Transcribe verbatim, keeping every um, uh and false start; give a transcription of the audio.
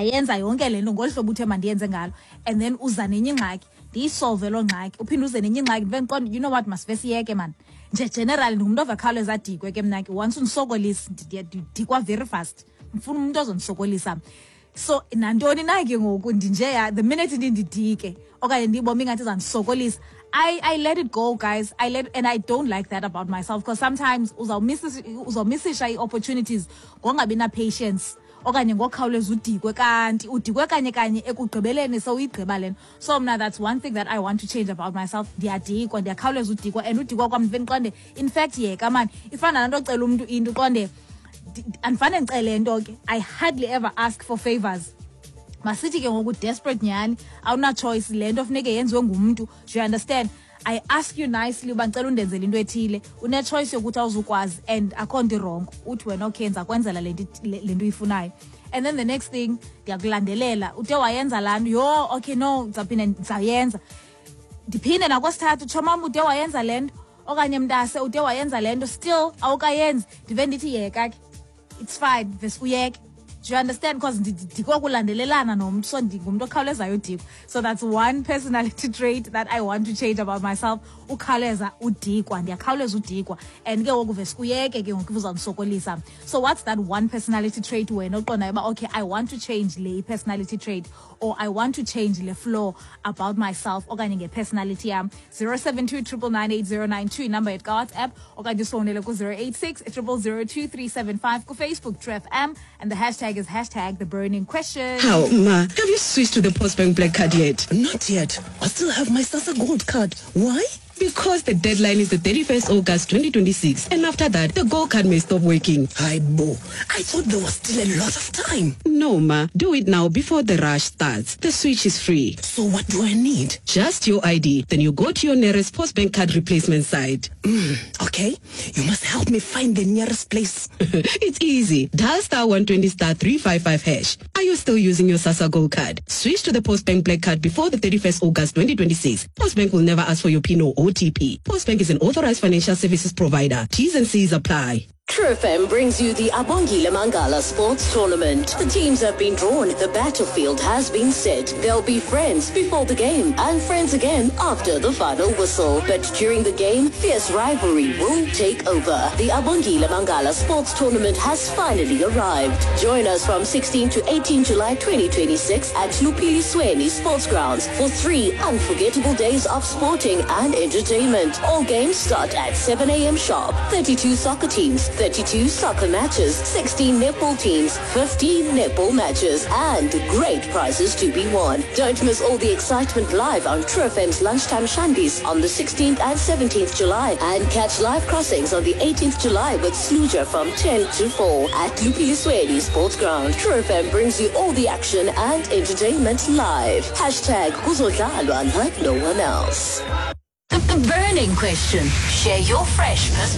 Ndiyayenza yonke le nto ngolu hlobo uthe mandiyenze ngalo, and then uza nenye ingxaki, ndiyisolve loo ngxaki, uphinde uze nenye ingxaki, ndive ndiqonde, you know what, masive siyeke mani. Nje generally ndingumntu ovakhawuleza adikwe ke mna ke. Once undisokolisa, ndidikwa very fast. Ndifuna umntu ozondisokolisa. So nantoni na ke ngoku, ndinjeya, the minute ndindidike okanye ndiyibona ingathi izandisokolisa, I, I let it go, guys. I let and I don't like that about myself, because sometimes uzawumisisha ii-opportunities ngongabi na-patience okanye ngokhawuleza udikwe, kanti udikwe kanye kanye ekugqibeleni sowuyigqiba le nto. So mna, that's one thing that I want to change about myself. Ndiyadikwa, ndiyakhawuleza udikwa, and udikwa kwam ndive ndiqonde, in fact, yeka mani. Ifana nalaa nto ocela umntu into, uqonde andifane ndicele nto ke. I hardly ever ask for favors. Masithi ke ngoku desperate nyhani, awuna-choice, le nto funeke yenziwe ngumntu, do you understand? I ask you nicely uba ndicela undenzele into ethile. Une-choice yokuthi awuzukwazi, and akho nto i-wrong. Uthi wena, okay, ndiza kwenzela le nto le nto uyifunayo, and then the next thing ndiyakulandelela, ude wayenza laa nto, yho, okay, no, ndizawuphinda ndizawuyenza, ndiphinde nakwesithathu, tshomam, ude wayenza le nto, okanye mntase, ude wayenza le nto, still awukayenzi, ndive ndithi yeka ke, it's fine, vese uyeke. Do you understand? Because ndikokulandelelana nomntu, so ndingumntu okhawulezayo udikwa. So that's one personality trait that I want to change about myself, ukhawuleza udikwa. Ndiyakhawuleza udikwa, and ke ngoku vese uyeke ke ngoku uzawundisokolisa. So what's that one personality trait wena oqondayo uba, okay, I want to change le personality trait, or I want to change le flaw about myself okanye nge-personality yam? zero seven two triple nine eight zero nine two inumber yethu kaWhatsApp, okanye usifowunele ku-zero eight six triple zero two three seven five, kuFacebook True F M, and the hashtag is hashtag the burning question. How, Ma, have you switched to the Postbank Black Card yet? Not yet. I still have my SASSA Gold card. Why? Because the deadline is the thirty-first August twenty twenty-six, and after that, the Gold Card may stop working. Hayibo, I thought there was still a lot of time. No, Ma. Do it now before the rush starts. The switch is free. So what do I need? Just your I D. Then you go to your nearest Postbank card replacement site. Mm, okay. You must help me find the nearest place. It's easy. Dial star one twenty star three five five hash. Are you still using your SASSA Gold Card? Switch to the Postbank Black Card before the thirty-first August twenty twenty-six. Postbank will never ask for your PIN or O T P. Postbank is an authorized financial services provider. T's and C's apply. True F M brings you the Abongile Mangala Sports Tournament. The teams have been drawn. The battlefield has been set. They'll be friends before the game and friends again after the final whistle. But during the game, fierce rivalry will take over. The Abongile Mangala Sports Tournament has finally arrived. Join us from sixteen to eighteen July twenty twenty-six at Lupili Sports Grounds for three unforgettable days of sporting and entertainment. All games start at seven a m sharp. thirty-two soccer teams, thirty-two soccer matches, sixteen netball teams, fifteen netball matches, and great prizes to be won. Don't miss all the excitement live on True F M's Lunchtime Shandies on the sixteenth and seventeenth July, and catch live crossings on the eighteenth July with Sluja from ten to four at Lupilisweni Sports Ground. True F M brings you all the action and entertainment live. Hashtag Kuzodlalwa like no one else. The, the burning question. Share your fresh perspective.